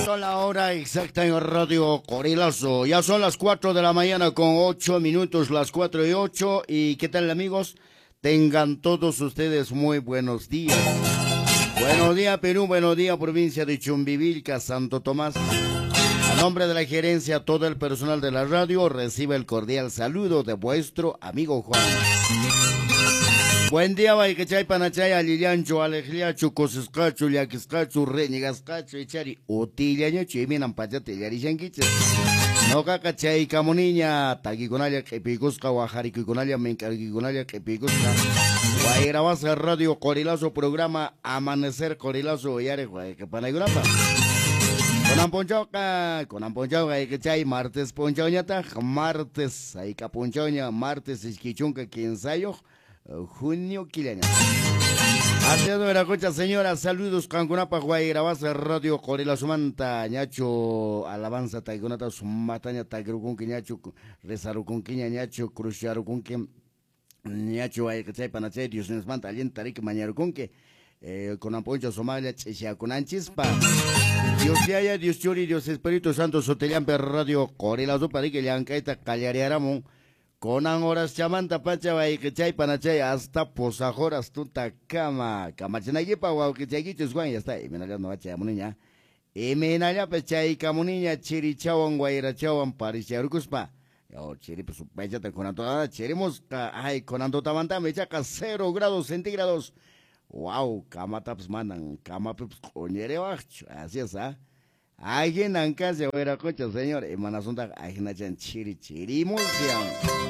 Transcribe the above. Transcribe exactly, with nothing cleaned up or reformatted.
Son la hora exacta en Radio Qorilazo. Ya son las cuatro de la mañana con ocho minutos, las cuatro y ocho. ¿Y qué tal, amigos? Tengan todos ustedes muy buenos días. Buenos días, Perú. Buenos días, provincia de Chumbivilca, Santo Tomás. A nombre de la gerencia, todo el personal de la radio recibe el cordial saludo de vuestro amigo Juan. Buen día, wayqichay, panachay, allillanchu, aleqllachu, kusisqachu, llakisqachu, reñigasqachu, ichari, utillañachu, imaynan pachata illarishankichis. Noqaqa chaykamuniña, takikunalla q'ipiykusqa, wajarikuykunalla, mink'arikuykunalla q'ipiykusqa. Wayrawasqa Radio Qorilazo, programa Amanecer Qorilazo, uyariq wayqipanaykunapaq. Kunan p'unchawqa, kunan p'unchawqa wayqichay, martes p'unchawñataq, martes, hayk'a p'unchawña, martes iskay chunka kinsayuq, junio killaña. Haciendo Veracocha, señora, saludos qankunapaq Wayrawasqa Radio Qorilazomanta, ñachu alabanza taykunata sumataña takirukunki ñachu rezarukunkiña ñachu cruzcharukunki ñachu wayqichay panachay Dios nismanta allinta riki mañarukunki eh, kunan p'unchaw sumaqlla ch'isyakunanchispa. Dios Yaya, Dios Churi, Dios Espíritu Santo sutillanpi Radio Qorilazopa riki llank'ayta qallariyaramun. Kunan horas chamanta pacha wayqichay panachay hasta pusaq horas tutakama kamachinaykipa wawqichaykichis Juan, ya está, imaynalla no chayamuniña, imaynallapas chaykamuniña chirichawan wayrachawan paricharukuspa. Yo chiripas supaychata kunan tutamanta chirimusqa, ay kunan tutamantami ichaqa cero grados centígrados. Wow, kamatapas manan kamapipas q'uñiriwaqchu, así es, ah. Ahinan kasha wayraqucha, señor, imanasuntaq ahinachan chiri chirimusyan.